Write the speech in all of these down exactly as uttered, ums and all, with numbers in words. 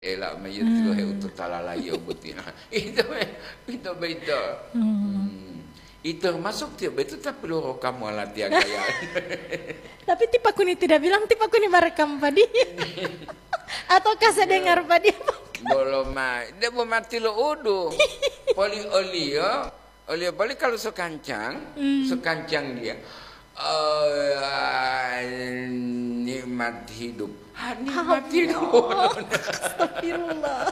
Ela ma yio tilohe utotalala yio boti. Ito, ito beito. Hmm. Ito masuk tiyo beito tapi loro kamu alatiya gaya. Tapi ti Pak Kuni tidak bilang, ti Pak Kuni merekam padi. Ataukah saya dengar padi? Bolo ma, dia mau mati lo udu. Poli olio, olio poli kalau sekancang, hmm, sekancang dia. Eh, nikmat hidup. Ah, nikmat hidup. Astagfirullah.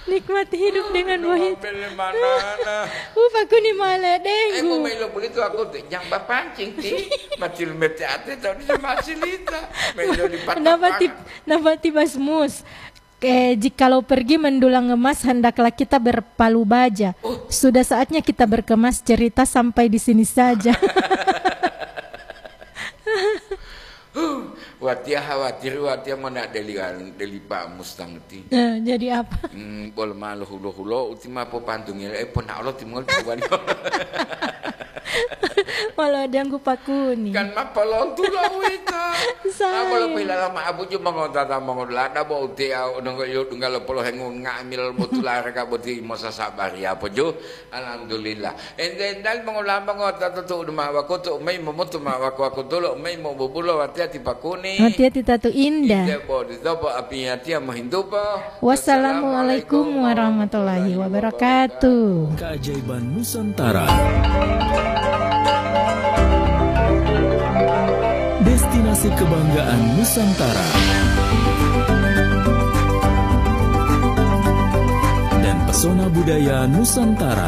Nikmat hidup dengan wahid. Bele manana. Uh, Pak Kuni male denggu. Eh, mau melo begitu aku tuh, jangan bapancing ti. Mati mete ate tahu dia masih lita. Melo di patah. Napa ti, napa ti Mas Mus? Eh, jikalau pergi mendulang emas, hendaklah kita berpalu baja. Oh. Sudah saatnya kita berkemas, cerita sampai di sini saja. Watiya khawatir, watiya mona deli, deli Pak Mustang ti. Eh, jadi apa? Hmm, bol malu hulo-hulo, uti ma popantungi, eh, pona Allah timongol tuwani. Walau dianggu Pak Kuni. Kan ma polontulo uwito. Saya. Apa lo pilala ma abuju mongotata mongodulada bo uti au nonggo ilo dungga lo polohengu nga'amil botula reka boti mosasabari apa ju? Alhamdulillah. Ente dal mongolamba ngotata tu udu ma wakutu, mei momutu ma waku-wakutulo, mei mobubulo watiya ti Pak Kuni. Watiya ti Tatu Indah. Ite bo ditobo apiya tiya mohintupo. Wassalamualaikum warahmatullahi wabarakatuh. Keajaiban Nusantara. Destinasi kebanggaan Nusantara. Dan pesona budaya Nusantara.